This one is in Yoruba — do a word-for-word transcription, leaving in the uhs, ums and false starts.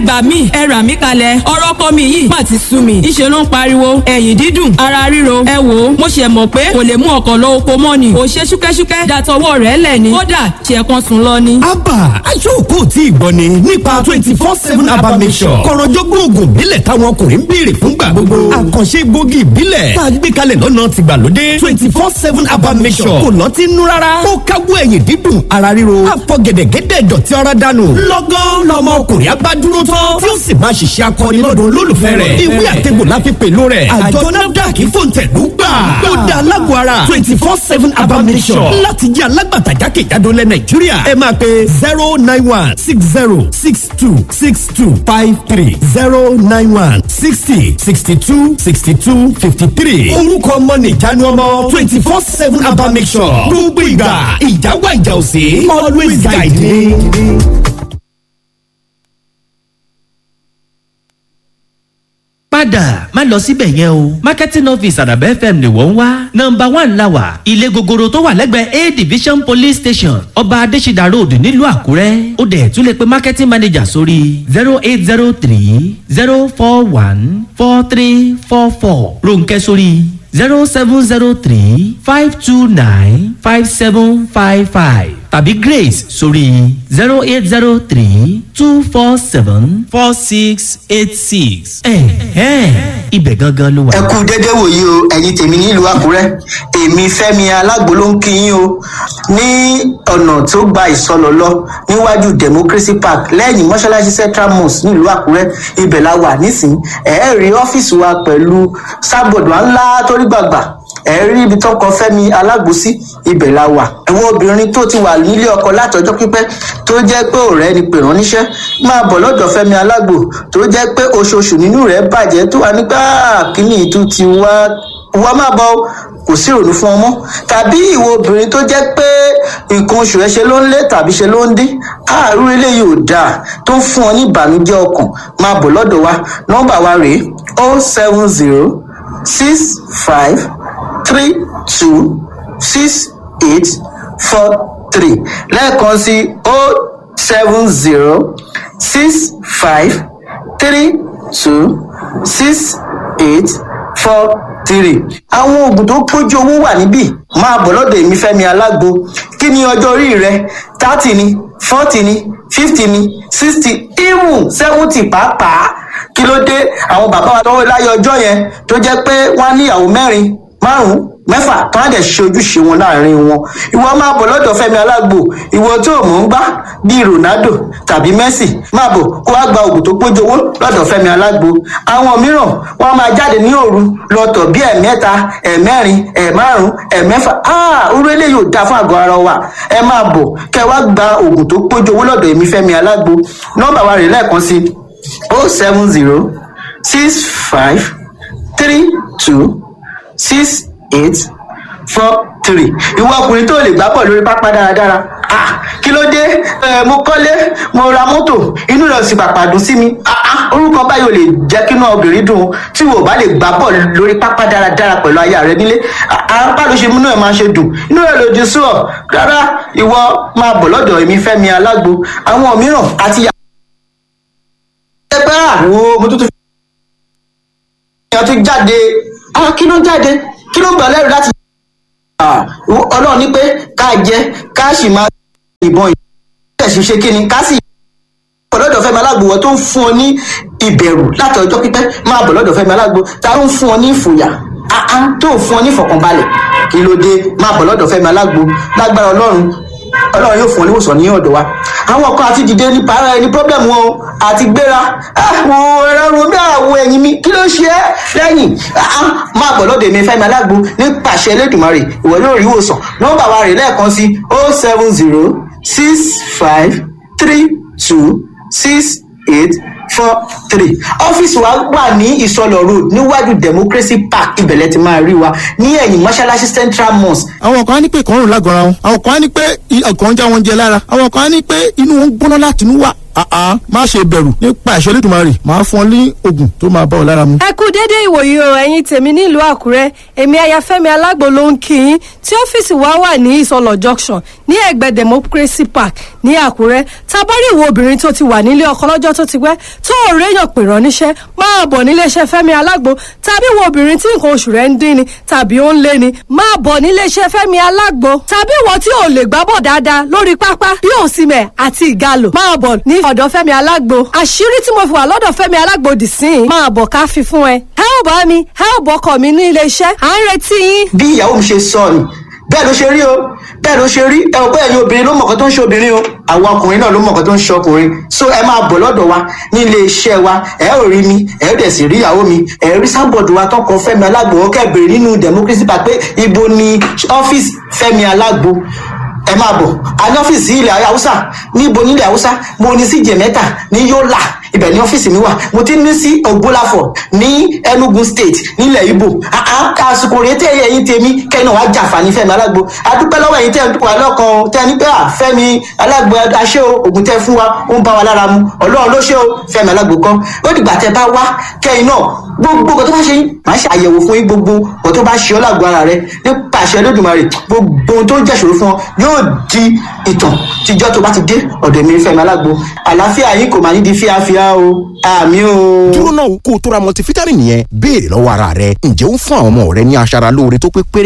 gbà mí, ẹ rà mí kalẹ̀, ọ̀rọ̀ ọkọ mi yìí má ti sú mi. Ìṣe ló ń pariwo, ẹ̀yìn dídùn, ara ríro. Ẹ wò ó, mo ṣe mọ̀ pé kò lè mú ọkọ̀ lọ oko mọ́ ni. Kò ṣe ṣúkẹ́ṣúkẹ́ dàtọwọ́ rẹ̀ lẹ̀ ni. Kódà ṣe kan sùn lọ ni. Abba aṣọ́ọ̀kọ́ tí ì gbọ́ ni nípa twenty four seven Abba Mixture. Kọ̀rọ̀jọ́gbọ́n oògùn ìbílẹ̀ táwọn ọkùnrin ń béèrè fúngbà gbogbo. Àkànṣe gbòógì ìbílẹ̀ tá a gbé kalẹ̀ lọ́nà tìgbàlódé. twenty four seven Abba Mixture kò lọ́tí nú rárá. Ó káwọ́ ẹ̀yìn dídùn, ara ríro, àfọ̀gẹ̀dẹ̀gẹ̀dẹ̀ dọ̀tí ara dànù. Lọ́gán lọmọ ọkùnrin abá dúró tán tí ó sì máa ṣiṣẹ́ akọni lọ́dọ̀ olólùfẹ́ rẹ̀. Ìwé àtẹ̀gbò la fi pèlú rẹ̀. Àjọ NAFDAC fòǹtẹ̀lú gbà. Ó da alágọ̀ ara twenty four seven Abba Mixture láti jẹ́ alágbàtà jákèjádò lẹ̀ Nàìjíríà. Ẹ máa pe zero nine one six zero six two six two five three zero nine one sixty sixty two sixty two fifty three. Orúkọ ọmọ nìjánu ọmọ twenty four seven Abba Mixture. Gbogbo ìgbà ìjáwá ìjà òsè always guide me. Padà má lọ síbẹ̀ yẹn o, marketing office Àdàbẹ̀ F M ni wọ́n ń wá. Nọ́mbà one la wà, ilé gogoro tó wà lẹ́gbẹ̀ẹ́ A division police station, Ọba Adésídà Road, nílùú Àkúrẹ́. Ó dẹ̀ tún lè pe marketing manager sórí zero eight zero three zero four one four three four four, Ronkẹ́ sórí zero seven zero three five two nine five seven five five tàbí Grace sórí zero eight zero three two four seven four six eight six. Ẹ̀hẹ́n, ibẹ̀ gangan ló wà. Ẹ kú dédé wòyí o, ẹ̀yin tèmi nílùú Àkúrẹ́. Èmi Fẹ́mi Alágbo ló ń kí yín o. Ní ọ̀nà tó gba Ìsọlọ̀ lọ, níwájú Democracy Park, lẹ́yìn mọ́ṣáláṣí Central Mosque nílùú Àkúrẹ́, ibẹ̀ la wà nísìnyí. Ẹ rí ọ́fíìsì wa pẹ̀lú sábọ̀dù ńlá tó rí gbàgbà, ẹ rí ibi tó kọ Fẹ́mi Alágbo sí, ibẹ̀ la wà. Ẹ̀wọ̀n obìnrin tó ti wà nílé ọkọ látọjọ́ pípẹ́, tó jẹ́ pé ọ̀rẹ́ ni pè ránníṣẹ́, máa bọ̀ lọ́dọ̀ Fẹ́mi Alágbo. Tó jẹ́ pé oṣooṣù nínú rẹ̀ bàjẹ́, tó wà nígbà kíní ìtú ti wá wá, máa bọ̀, kò sí ìrònú fún ọmọ. Tàbí ìwọ obìnrin tó jẹ́ pé nǹkan oṣù ẹ ṣe ló ń lé tàbí ṣe ló ń dín, àárú eléyìí ò dáa, tó ń fún ọ ní ìbànújẹ́ ọkàn, máa bọ̀ lọ́dọ̀ wa. Nọ́mbà wa rèé: o seven zero six five three two six eight four three. Lẹ́ẹ̀kan sí: o seven zero six five three two six eight four three. Àwọn oògùn tó pójú owó wà níbí. Máa bọ̀ lọ́dọ̀ èmi Fẹ́mi Alágbo. Kí ni ọjọ́ orí rẹ? Thirty ni, forty ni, fifty ni, sixty, even seventy pàápàá? Kí ló dé? Àwọn bàbá wa tọwọ́ láyé ọjọ́ yẹn, tó jẹ́ pé wọ́n á níyàwó mẹ́rin, márùn-ún, mẹ́fà, tó á dẹ̀ ṣe ojúṣe wọn láàrin wọn. Ìwọ máa bọ̀ lọ́dọ̀ Fẹ́mi Alágbo. Ìwọ tó mọ̀ ń gbá bíi Ronaldo tàbí Messi, máa bọ̀ kó wá gba oògùn tó pójú owó lọ́dọ̀ Fẹ́mi Alágbo. Àwọn mìíràn, wọ́n máa jáde ní òru lọ́tọ̀ bí ẹ̀mẹ́ta, ẹ̀mẹ́rin, ẹ̀márùn, ẹ̀mẹ́fà. Orú eléyìí ò dáa fún àgọ́ ara wa. Ẹ máa bọ̀ kẹ́ wá gba oògùn tó pójú owó lọ́dọ̀ èmi Fẹ́mi Alágbo. Nọ́mbà wa rè lẹ́ẹ̀kan sí: o seven zero six five three two six eight four three. Ìwọ ọkùnrin tó lè gbá bọ̀ lórí pápá dáradára, ah, kí ló dé? Ẹ mo kọ́lé, mo ra mọ́tò, inú rẹ̀ sì pàpà dùn sí mi. Ah ah, orúkọ báyìí ò lè jẹ́ kí inú obìnrin dùn. Tí wò bá lè gbá bọ̀ lórí pápá dáradára pẹ̀lú aya rẹ nílé, apá ló ṣe múnú ẹ̀ máa ṣe dùn, inú rẹ̀ lòdì sí ọ rárá. Ìwọ máa bọ̀ lọ́dọ̀ èmi Fẹ́mi Alágbo. Àwọn mìíràn àti ẹgbẹ́ àwọn mo tuntun fi tún jáde. Ah, kí ló ń jáde? Kí ló ń gbà lẹ́rù láti Ọlọ́run ní pé ká jẹ, ká sì máa ìbọn ìṣẹ̀ṣẹ̀ ṣe kí ni ká sì bọ̀ lọ́dọ̀ Fẹ́mi Alágbo. Wọ́n tó ń fún ọ ní ìbẹ̀rù láti ọjọ́ pípẹ́, máa bọ̀ lọ́dọ̀ Fẹ́mi Alágbo. Ta ló ń fún ọ ní ìfòyà tó ń fún ọ ní ìfọ̀kànbalẹ̀? Kí ló dé? Máa bọ̀ lọ́dọ̀ Fẹ́mi Alágbo. Lágbára Ọlọ́run, Ọlọ́run yóò fún ọ níwòsàn ní ọ̀dọ̀ wa. Àwọn kan àti dìde ní para ẹni problem wọn o, àti gbéra àwọn ẹ̀rọ mi, àwọn ẹ̀yìn mi, kí ló ṣe é lẹ́yìn? Máa bọ̀ lọ́dọ̀ èmi Fẹ́mi Alágbo. Nípasẹ̀ Elédùmarè, ìwọ yóò rí ìwòsàn. Nọ́mbà wa rè lẹ́ẹ̀kan sí: o seven zero six five three two six eight four three. Ọ́fíìsì wa wà ní Ìsọlọ̀ Road, níwájú Democracy Park. Ibẹ̀lẹ̀ ti máa rí wa ní ẹ̀yìn mọ́ṣáláṣí Central Mosque. Àwọn kan á ní pé ìkọrùn lágọ̀ọ́ra wọn, àwọn kan á ní pé ọkàn ń já wọn jẹ lára, àwọn kan á ní pé inú wọn ń gbóná láti inú wá. Àá má ṣe bẹ̀rù, nípa ìṣẹ́ Olódùmarè, máa fún ọ ní oògùn tó máa bá ọ lára mu. Ẹ kú dédé ìwòyí o, ẹ̀yin tèmi nílùú Àkúrẹ́. Èmi Ayafẹ́mi Alágbo ló ń kí yín tí ọ́fíìsì wa wà ní Ìsọlọ̀ Junction ní ẹ̀gbẹ́ Democracy Park ní Àkúrẹ́. Tabari ìwọ obìnrin tó ti wà nílé ọkọ lọ́jọ́ tó ti pẹ́, tó ò réyàn pè rán níṣẹ́, máa bọ̀ níléeṣẹ́ Fẹ́mi Alágbo. Tàbí ìwọ obìnrin tí nǹkan oṣù rẹ̀ ń dín ni tàbí ó ń lé ni, máa bọ̀ níléeṣẹ́ Fẹ́mi Alágbo. Tàbí ìwọ tí ò lè gbábọ̀ dáadáa lórí pápá bí òsìmẹ̀ àti ìgalò, máa bọ̀ ní ọ̀dọ̀ Fẹ́mi Alágbo. Àṣírí tí mo fi wà lọ́dọ̀ Fẹ́mi Alágbo dì sí i, máa bọ̀ ká fi fún ẹ. Ẹ ò bá mi, ẹ ò bọ́kọ̀ mi ní iléeṣẹ́, à ń retí yín. Bí ìyàwó mi ṣe sọ ni bẹ́ẹ̀ ló ṣe rí o, bẹ́ẹ̀ ló ṣe rí. Ẹ ò pé ẹ̀yin obìnrin ló mọ̀kọ́ tó ń ṣe obìnrin o, àwọn ọkùnrin náà ló mọ̀kọ́ tó ń ṣe ọkùnrin. So ẹ máa bọ̀ lọ́dọ̀ wa ní ilé iṣẹ́ wa, ẹ ò rí mi, ẹ ò dẹ̀ sì rí ìyàwó mi. Ẹ rí sábọ̀dù wa tọkọ Fẹ́mi Alágbo, ó kẹ́ bèrè nínú Democracy Park pé ibo ni ọ́fíìsì Fẹ́mi Alágbo, ẹ máa bọ̀. A ní ọ́fíìsì ilẹ̀ Haúsá. Níbo nílẹ̀ Haúsá? Mo ní sí Jẹ̀mẹ́ta ní Yólà, ibẹ̀ ní ọ́fíìsì mi wà. Mo ti ní sí Ògbólàfọ̀ ní Enugu State nílẹ̀ Ibo. Àsìkò rèé tẹ́ ẹ̀yin tèmi kẹ́yìn náà wá jàǹfààní Fẹ́mi Alágbo. Adúpẹ́ lọ́wọ́ ẹ̀yin tẹ́ ẹ̀ wà lọ́kàn o, tẹ́ ẹ ní pé à Fẹ́mi Alágbo aṣẹ́ o, ògùn tẹ́ fún wa ó ń bá wa lára mu. Ọlọ́run ló ṣe o, Fẹ́mi Alágbo kan. Ó dìgbà tẹ́ bá wá kẹ́yìn náà, gbogbo nǹkan tó bá ṣe yín, màá ṣe àyẹ̀wò fún yín. Gbogbo nǹkan tó bá ṣe ọ́ lágbo ara rẹ, nípa àṣẹ Olódùmarè, gbogbo ohun tó ń jẹ́ṣòro fún ọ yóò di ìtàn tíjọ́ tó bá ti dé ọ̀dọ̀ mi Fẹ́mi Alágbo. Àlàáfíà yín kò máa ní di fíafíà o, àmì o. Dúró náà, kó o tó ra multivitamin yẹn, béèrè lọ́wọ́ ara rẹ: ǹjẹ́ ó ń fún àwọn ọmọ rẹ ní aṣara lóore tó pé péré?